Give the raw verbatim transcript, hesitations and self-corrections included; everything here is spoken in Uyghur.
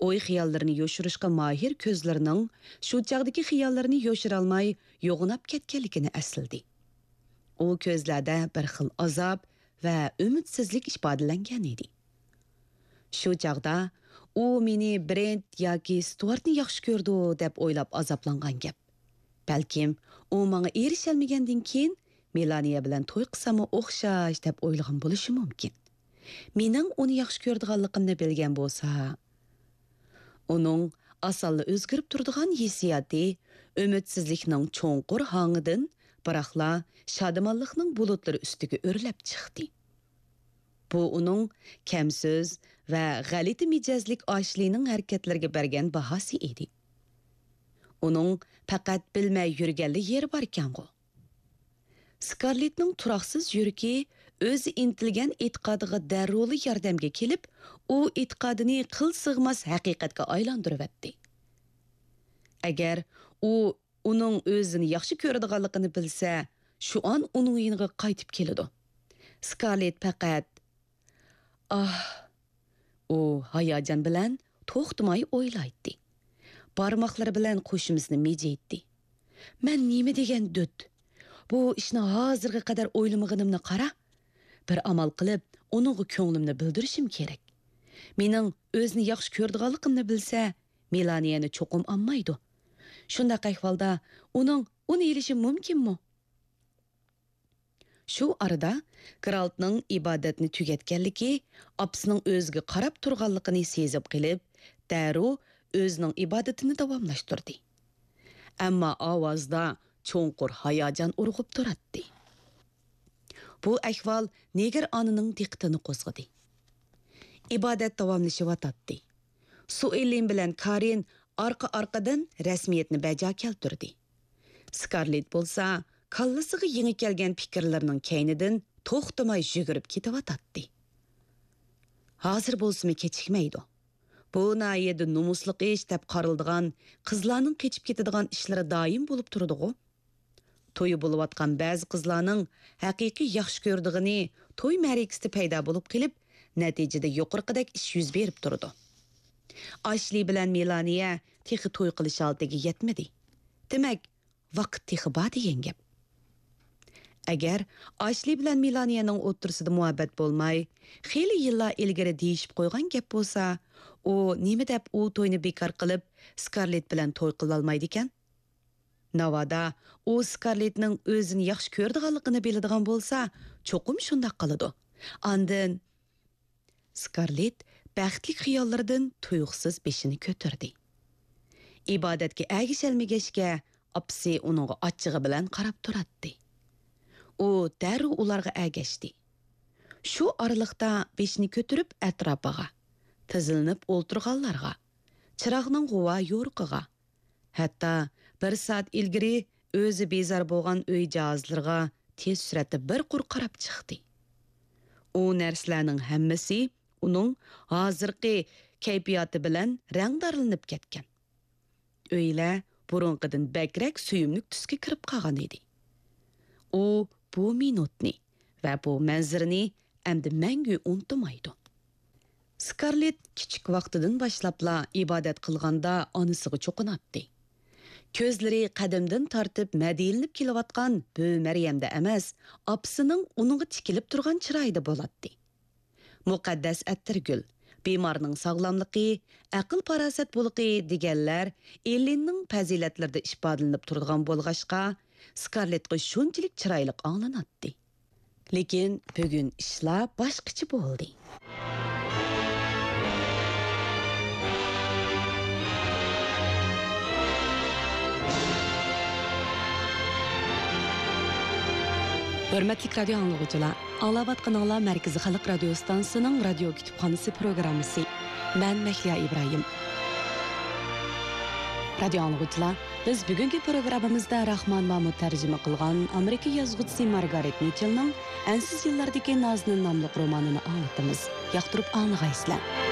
ئوي-خىياللىرىنى يوشۇرۇشقا ماھىر كۆزلىرىنىڭ شۇ چاغدىكى خىياللىرىنى يوشۇرالماي يوغىناپ كەتكەنلىكىنى ئەسلىدى. ئۇ كۆزلەردە بىر خىل ئازاب ۋە ئۈمىدسىزلىك ئىپادىلەنگەن ئىدى. شۇ چاغدا ئۇ مېنى برېنت ياكى ستۇئارتنى ياخشى كۆرىدۇ دەپ ئويلاپ ئازابلانغان گەپ. بەلكىم ئۇ ماڭا ئېرىشەلمىگەندىن كېيىن مېلانىيە بىلەن توي قىلساممۇ ئوخشاش دەپ ئويلىغان بولۇشى مۇمكىن. مېنىڭ ئۇنى ياخشى كۆرىدىغانلىقىمنى بىلگەن بولسا. ئۇنىڭ ئاسانلا ئۆزگىرىپ تۇرىدىغان ھېسسىياتى ئۈمىدسىزلىكنىڭ چوڭقۇر ھاڭىدىن، بىراقلا شادىمانلىقنىڭ بۇلۇتلىرى ئۈستىگە ئۆرلەپ چىقتى. بۇ ئۇنىڭ كەمسۆز ۋە غەلىتە مىجەزلىك ئاشلىنىڭ ھەرىكەتلىرىگە بەرگەن باھاسى ئىدى. ئۇنىڭ پەقەت بىلمەي يۈرگەنلا يېرى باركەنغۇ. سكارلېتنىڭ تۇراقسىز يۈرىكى ئۆزى ئىنتىلگەن ئېتىقادىغا دەررۇلا ياردەمگە كېلىپ، ئۇ ئېتىقادىنى قىل سىغماس ھەقىقەتكە ئايلاندۇرۇۋەتتى. ئەگەر ئۇ ئۇنىڭ ئۆزىنى ياخشى كۆرىدىغانلىقىنى بىلسە، شۇئان ئۇنىڭ يېنىغا قايتىپ كېلىدۇ. سكارلېت پەقەت، ئاھ! ئۇ ھاياجان بىلەن توختىماي ئويلايتتى. بارماقلىرى بىلەن قوشۇمىسىنى مىجىيتتى. مەن نېمە دېگەن دۆت؟ بۇ ئىشنى ھازىرغا قەدەر ئويلىمىغىنىمنى قارا. بىر ئامال قىلىپ، ئۇنىڭغا كۆڭلۈمنى بىلدۈرۈشۈم كېرەك. مېنىڭ ئۆزىنى ياخشى كۆرىدىغانلىقىمنى بىلسە، مېلانىيەنى چوقۇم ئالمايدۇ. شۇنداق ئەھۋالدا ئۇنىڭ ئۇنى ئېلىشى مۇمكىنمۇ؟ شۇ ئارىدا گرالتنىڭ ئىبادەتنى تۈگەتكەنلىكى، ئاپىسىنىڭ ئۆزىگە قاراپ تۇرغانلىقىنى سېزىپ قېلىپ، دەررۇ ئۆزىنىڭ ئىبادىتىنى داۋاملاشتۇردى. ئەمما ئاۋازدا چوڭقۇر ھاياجان ئۇرغۇپ تۇراتتى. بۇ ئەھۋال نېگىر ئانىنىڭ دىققىتىنى قوزغىدى. ئىبادەت داۋاملىشىۋاتاتتى. سۇئېللىن بىلەن كارىن ئارقا-ئارقىدىن رەسمىيەتنى بەجا كەلتۈردى. سكارلېت بولسا كاللىسىغا يېڭى كەلگەن پىكىرلىرىنىڭ كەينىدىن توختىماي يۈگۈرۈپ كېتىۋاتاتتى. ھازىر بولسىمۇ كېچىكمەيدۇ. بۇ ناھىيەدە نومۇسلۇق ئىش دەپ قارىلىدىغان، قىزلارنىڭ قېچىپ كېتىدىغان ئىشلىرى دائىم بولۇپ تۇرىدىغۇ؟ تويى بولۇۋاتقان بەزى قىزلارنىڭ ھەقىقىي ياخشى كۆرىدىغىنى توي مەرىكىسىدە پەيدا بولۇپ قېلىپ، نەتىجىدە يۇقىرىقىدەك ئىش يۈز بېرىپ تۇرىدۇ. ئاشلى بىلەن مېلانىيە تېخى توي قىلىش ھالىتىگە يەتمىدى. دېمەك، ۋاقىت تېخى بار دېگەن گەپ. ئەگەر ئاشلى بىلەن مېلانىيەنىڭ ئوتتۇرىسىدا مۇھەببەت بولماي، خېلى يىللار ئىلگىرى دېيىشىپ قويغان گەپ بولسا، ئۇ نېمە دەپ ئۇ توينى بىكار قىلىپ، سكارلېت بىلەن توي قىلالمايدىكەن؟ ناۋادا ئۇ سكارلېتنىڭ ئۆزىنى ياخشى كۆرىدىغانلىقىنى بىلىدىغان بولسا، چوقۇم شۇنداق قىلىدۇ. ئاندىن سكارلېت بەختلىك خىياللىرىدىن تۇيۇقسىز بېشىنى كۆتۈردى. ئىبادەتكە ئەگىشەلمىگەچكە، ئاپىسى ئۇنىڭغا ئاچچىقى بىلەن قاراپ تۇراتتى. ئۇ دەررۇ ئۇلارغا ئەگەشتى. شۇ ئارىلىقتا بېشىنى كۆتۈرۈپ ئەتراپىغا، تىزلىنىپ ئولتۇرغانلارغا، چىراغنىڭ غۇۋا يورۇقىغا، ھەتتا بىر سائەت ئىلگىرى ئۆزى بىزار بولغان ئۆي جاھازلىرىغا تېز سۈرئەتتە بىر قۇر قاراپ چىقتى. ئۇ نەرسىلەرنىڭ ھەممىسى ئۇنىڭ ھازىرقى كەيپىياتى بىلەن رەڭدارلىنىپ كەتكەن. ئۆيلەر بۇرۇنقىدىن بەكرەك سۆيۈملۈك تۈسكە كىرىپ قالغان ئىدى. ئۇ بۇ مىنۇتنى ۋە بۇ مەنزىرىنى ئەمدى مەڭگۈ ئۇنتۇمايدۇ. سكارلېت كىچىك ۋاقتىدىن باشلاپلا ئىبادەت قىلغاندا ئانىسىغا چوقۇناتتى. كۆزلىرى قەدىمدىن تارتىپ مەدھىيەلىنىپ كېلىۋاتقان بۈۋى مەريەمدە ئەمەس، ئاپىسىنىڭ ئۇنىڭغا تىكىلىپ تۇرغان چىرايىدا بولاتتى. مۇقەددەس ئەتىرگۈل، بىمارنىڭ ساغلاملىقى، ئەقىل-پاراسەت بۇلىقى دېگەنلەر ئېللىننىڭ پەزىلەتلىرىدە ئىپادىلىنىپ تۇرىدىغان بولغاچقا، سكارلېتقا شۇنچىلىك چىرايلىق ئاڭلىناتتى. لېكىن بۈگۈن ئىشلار باشقىچە بولدى. ھۆرمەتلىك رادىيو ئاڭلىغۇچىلار، ئاڭلاۋاتقىنىڭلار مەركىزىي خەلق رادىيو ئىستانسىسىنىڭ رادىيو كۇتۇپخانىسى پروگراممىسى. مەن مەھلىيا ئىبراھىم. رادىيو ئاڭلىغۇچىلار، بىز بۈگۈنكى پروگراممىمىزدا راخمان مامۇت تەرجىمە قىلغان ئامېرىكا يازغۇچىسى مارگارېت مىچېلنىڭ ئەنسىز يىللاردىكى نازنىن ناملىق رومانىنى ئاڭلىتىمىز. ياقتۇرۇپ ئاڭلىغايسىلەر.